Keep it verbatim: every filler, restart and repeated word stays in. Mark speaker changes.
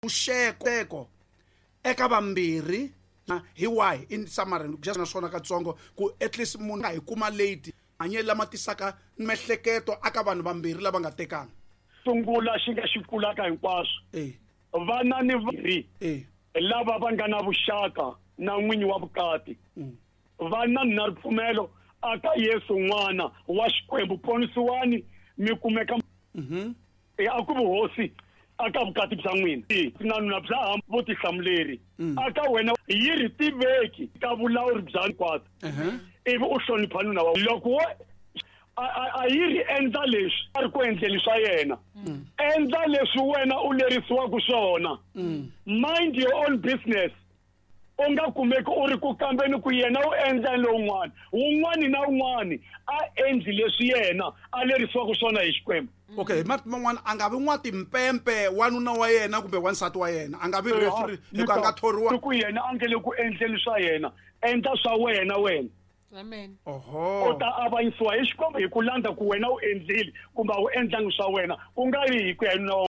Speaker 1: Xeko eka vambirhi hi wahi in summary just naswona katsongo ku at least munhu a hi kuma late hanyelo lama tisaka miehleketo aka vanhu vambirhi lava nga tekana.
Speaker 2: Sungula xi nga xi kulaka hinkwaswo.
Speaker 1: Eh.
Speaker 2: Vana ni vambirhi
Speaker 1: Eh.
Speaker 2: lava va nga na vuxaka na n'winyi wa vukati.
Speaker 1: Mm.
Speaker 2: Vana na ripfumelo aka Yesu n'wana wa Xikwembu ponisiwani mi kumeka.
Speaker 1: Mhm.
Speaker 2: E a ku vuhosi aka vukati bya n'wina. Na nuna bya ha vutihlamuleri.
Speaker 1: Mm.
Speaker 2: Aka wena yi ri tiveki ka vulawuri bya hinkwato.
Speaker 1: Uh-huh.
Speaker 2: Ivi u hlonipha nuna wa loko wo a, a, a yi ri endla leswi a ri ku endleni swa yena.
Speaker 1: Mm.
Speaker 2: Endla leswi wena u lerisiwaka swona.
Speaker 1: Mm.
Speaker 2: Mind your own business. U nga kumeki u ri ku kambeni ku yena u endla lowun'wana. Wun'wani na wun'wani a endli leswi yena a lerisiwaka swona hi Xikwembu.
Speaker 1: Okay, hi marito man'wana a nga vi n'watimpempe wanuna wa yena kumbe wansati wa yena, a nga vi referee hikuva a nga thoriwa.
Speaker 2: Ku yena a nge le ku endleni swa yena, endla swa wena wena.
Speaker 3: Amen.
Speaker 1: Oho.
Speaker 2: U ta avanyisiwa hi Xikwembu hi ku landza ku wena u endlile kumbe a wu endlangi swa wena, ku nga ri hi ku ya hi nuna wa